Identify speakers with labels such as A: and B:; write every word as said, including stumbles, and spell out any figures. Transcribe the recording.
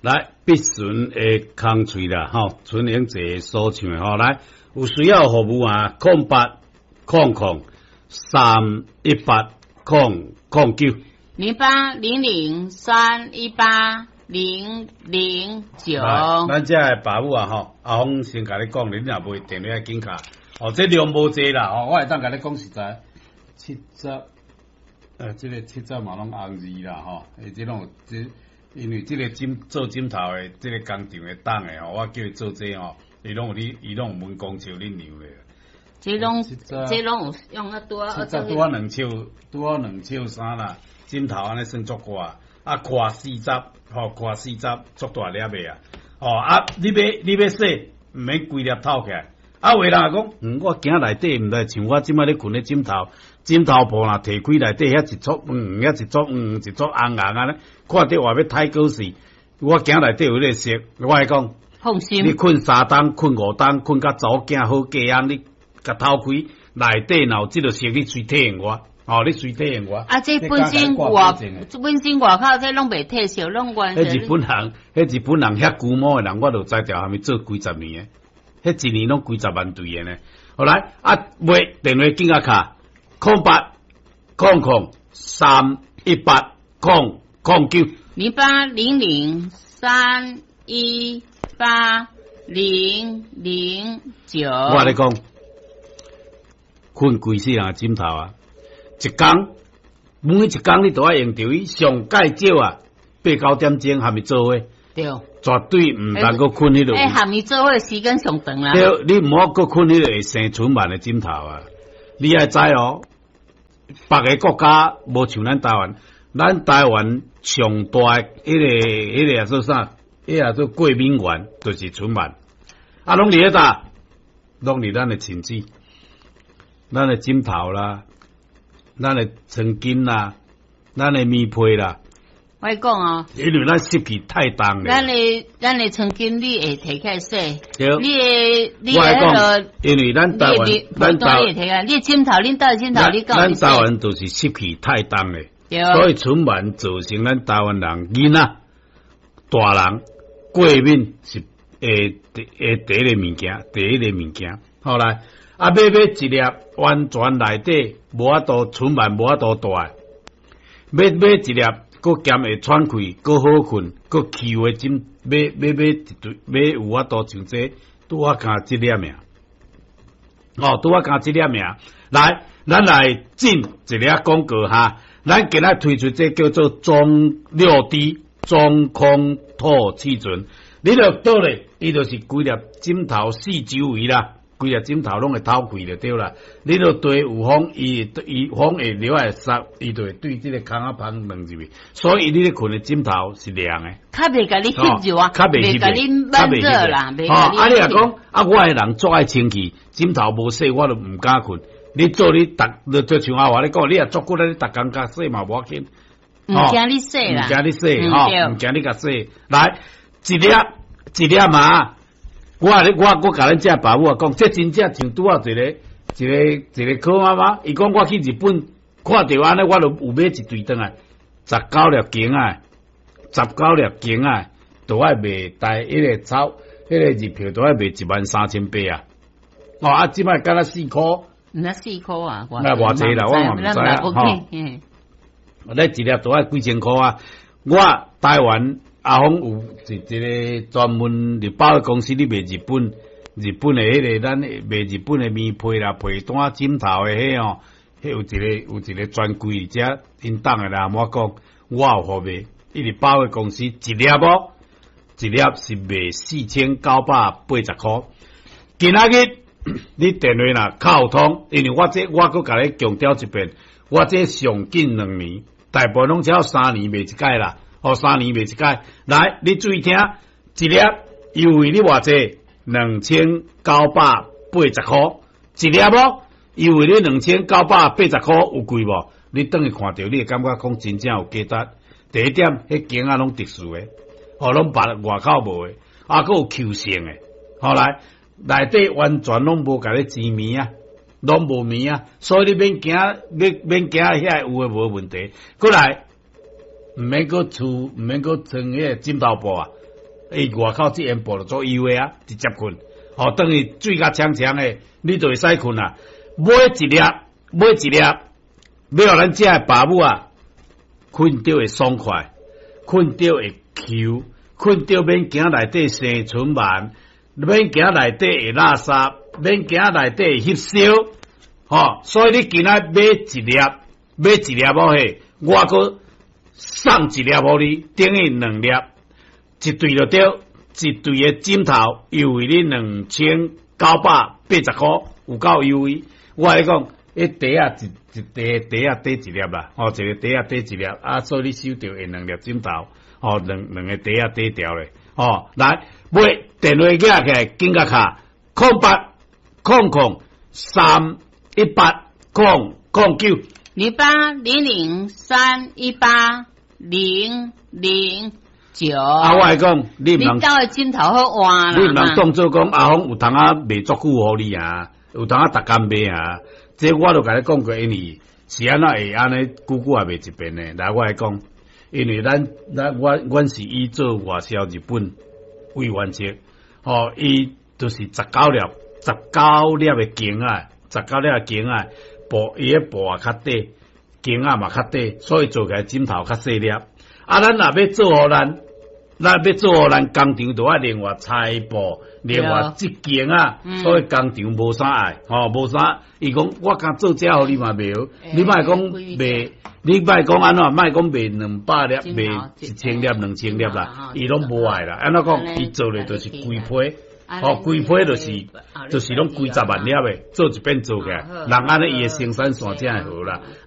A: 來，必順的空喙啦，吼，純英姐所唱的吼，來，有需要服務啊，空八空空三一八空空九，
B: 零八零零三一八零零九。
A: 咱遮的爸母啊，吼，阿峰先共你講，你若無電話緊敲，哦，這量無濟啦，哦，我會當共你講實在，七十，呃，這個七十嘛攏紅字啦，吼，欸，這攏有這。因為這個枕做枕頭的這個工廠的檔的吼，我叫伊做這吼，伊攏有咧，伊攏有問工廠咧量的。
B: 這攏這攏有用啊拄啊。
A: 七十拄仔兩尺，拄仔兩尺三啦，枕頭按呢算足闊，啊寬四十，吼寬四十，足大粒的啊。哦啊，你欲你欲洗，毋免規粒透起來。啊，有的人講，嗯，我驚內底毋知像我這擺咧睏咧枕頭，枕頭布若提開內底遐一撮黃黃，遐一撮黃一撮紅紅按呢，看著話欲太過時，我驚內底有彼個色，我會講，
B: 放心，
A: 你睏三冬、睏五冬、睏甲查某囝好嫁翁，你共透開內底若有這個色，你隨體現我，哦，你隨體現我。
B: 啊，這本身外，本身外口這攏袂褪色，攏完
A: 全。彼日本人，彼日本人遐龜毛的人，我就知著啥物做幾十年的。彼一年攏幾十萬對的呢。後來啊，賣電話緊仔敲，空八空空三一八空空九，
B: 零八零零三一八零零九。
A: 我共你講，睏規世人的枕頭啊，一工每一工你都愛用著伊，上蓋少啊，八九點鐘還未做伙。
B: 對，
A: 絕對毋通閣睏彼落。
B: 欸，含伊做伙時間上長啦。
A: 對，你毋好閣睏彼个會生蓳蟎的枕頭啊！你愛知哦，別个國家無像咱台灣，咱台灣上大的彼个彼个叫做啥？彼个叫做過敏原，就是蓳蟎。啊，攏佇咧佗？攏佇咱的寢子，咱的枕頭啦，咱的床巾啦，咱的棉被啦。
B: 我講哦，
A: 因為咱濕氣太重咧。
B: 咱的咱的床巾你會提起來洗，
A: 對，
B: 你的你的彼个，
A: 因為咱台灣，咱台
B: 灣，你的枕頭，恁兜的枕頭，你
A: 咱台灣就是濕氣太重咧，所以蓳蟎造成咱台灣人囡仔、大人過敏是會會第一個物件，第一個物件。後來啊，欲買一粒完全內底無法度蓳蟎無法度大，欲買一粒。閣兼會喘氣，閣好睏，閣 Q 的枕，欲欲買一對，欲有法度像這，拄仔共這粒爾。哦，拄仔共這粒爾。來，咱來進一个廣告哈。咱今仔推出這叫做中六 D 中空透氣層，你著倒咧，伊就是規粒枕頭四周圍啦。規粒枕頭攏會透氣就對啦。你著對有風，伊伊風會落來殺，伊就會對這个空仔芳放入去。所以你咧睏的枕頭是涼的，
B: 較袂共你翕著啊，
A: 較袂
B: 共你悶熱啦。
A: 吼，啊你若講啊，我的人足愛清氣，枕頭無洗我就毋敢睏。你做你逐，就像阿華咧講，你若足骨力，你逐工共洗嘛無要緊。
B: 毋驚你洗啦，
A: 毋驚你洗，吼，毋驚你共洗。來，一粒一粒嘛。我我我共恁遮爸母啊講，這真正像拄仔一個一個一個柯媽媽，伊講我去日本看著按呢，我就有買一對轉來，十九粒弓仔，十九粒弓仔，都愛賣台彼个鈔，彼个日票都愛賣一萬三千八啊！哦啊，這擺敢若四箍，
B: 毋知四箍啊？
A: 那偌濟啦，我嘛毋知啊，吼。咧一粒都愛幾千箍啊！我台灣。阿峰有一一个專門日包的公司，咧賣日本日本的彼个咱賣日本的棉被啦、被單、枕頭的彼吼，彼有一个有一个專櫃遮𪜶當的來我講，我有予賣，伊日包的公司一粒哦，一粒是賣四千九百八十箍。今仔日你電話若敲通，因為我這我閣共你強調一遍，我這上緊兩年，大部分攏只有三年賣一擺啦。哦，三年賣一擺，來，你注意聽，一粒優惠你偌濟？兩千九百八十箍，一粒無？優惠你兩千九百八十箍有貴無？你轉去看著，你會感覺講真正有價值。第一點，彼弓仔攏特殊的，哦，攏別外口無的，啊，閣有 Q 性的。後來內底完全攏無共你煎物啊，攏無物啊，所以你免驚，免免驚遐有的無問題。閣來。毋免閣厝，毋免閣穿彼个枕頭布啊，伊外口這煙布就做優的啊，直接睏，吼，等於水甲戕戕的，你就會使睏啊。買一粒，買一粒，欲予咱遮的爸母啊，睏著會爽快，睏著會 Q，睏著免驚內底生蓳蟎，免驚內底會垃圾，免驚內底會翕燒，吼，所以你今仔買一粒，買一粒無嘿，我閣送一粒予你，等於兩粒，一對就對，一對的枕頭優惠你兩千九百八十箍，有夠優惠。我共你講，彼袋仔一一袋袋仔底一粒啦，吼，一个袋仔底一粒，啊，所以你收著會兩粒枕頭，吼，兩兩个袋仔底掉咧，吼，來買電話寄起來，緊共敲空八空空三一八空空九，
B: 零八零零三一八零零九。
A: 啊，我來講，你毋通
B: 你兜的枕頭好換啦。
A: 你毋通當做講阿峰有通仔賣足久予你啊，有通仔逐工賣啊。這我都共你講過，因為是按怎會按呢久久也賣一遍呢？來，我來講，因為咱咱我阮是以做外銷日本為原則，吼，伊就是十九粒，十九粒的弓仔，十九粒的弓仔，布伊的布也較短，弓仔嘛較短，所以做起來枕頭較細粒。啊，咱若欲做予咱，咱欲做予咱工廠，就愛另外裁布，另外織弓仔，所以工廠無啥愛，吼，無啥。伊講我敢做這予你嘛袂好，你莫講賣，你莫講按怎，莫講賣兩百粒，賣一千粒、兩千粒啦，伊攏無愛啦。按怎講？伊做咧就是規批，吼，規批就是就是攏幾十萬粒的，做一遍做起來，人按呢伊的生產線才會好啦。